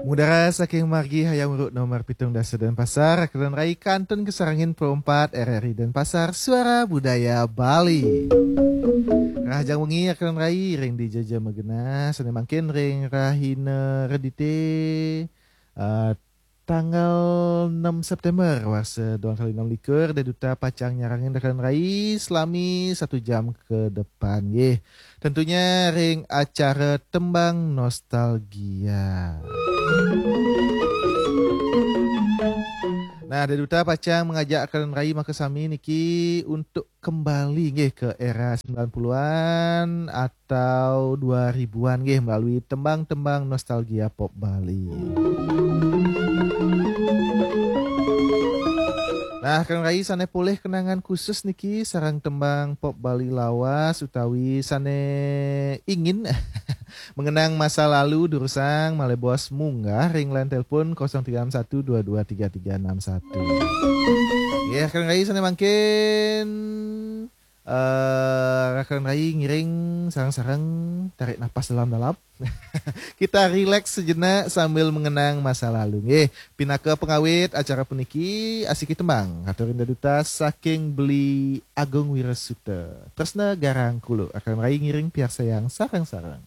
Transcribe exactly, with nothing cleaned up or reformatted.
Mudara saking margi Hayam Wuruk nomor pitung dasa Denpasar, Kalian Rai kantun kasarengin Pro empat R R I Denpasar, Suara Budaya Bali. Rahajeng wengi Kalian Rai ring dija ja magenah, sane mangkin ring rahina Redite, eh, tanggal enam September warsa dua kali enam likur, Dai Duta pacang nyarengin Kalian Rai selami satu jam ke depan, nggih. Tentunya ring acara Tembang Nostalgia. Nah, Dai Duta pacang mengajak Kalian Rai makasami niki untuk kembali, nggih, ke era sembilan puluhan atau dua ribuan, nggih, melalui tembang-tembang nostalgia pop Bali. Nah, Kalian Rai sane polih kenangan khusus niki sareng tembang pop Bali lawas utawi sane ingin mengenang masa lalu, durusang malih bos munggah ring line telepon kosong tiga enam satu dua dua tiga tiga enam satu. Ya, Kalian Rai sane mangkin, eh, Kalian Rai ngiring sareng-sareng, tarik napas dalam-dalam. Kita rileks sejenak sambil mengenang masa lalu, nggih. Pinaka pengawit acara puniki, asiki tembang katurin Dai Duta saking Beli Agung Wirasuta. Tresna Garang Kuluk, Kalian Rai ngiring piarsayang sareng-sareng.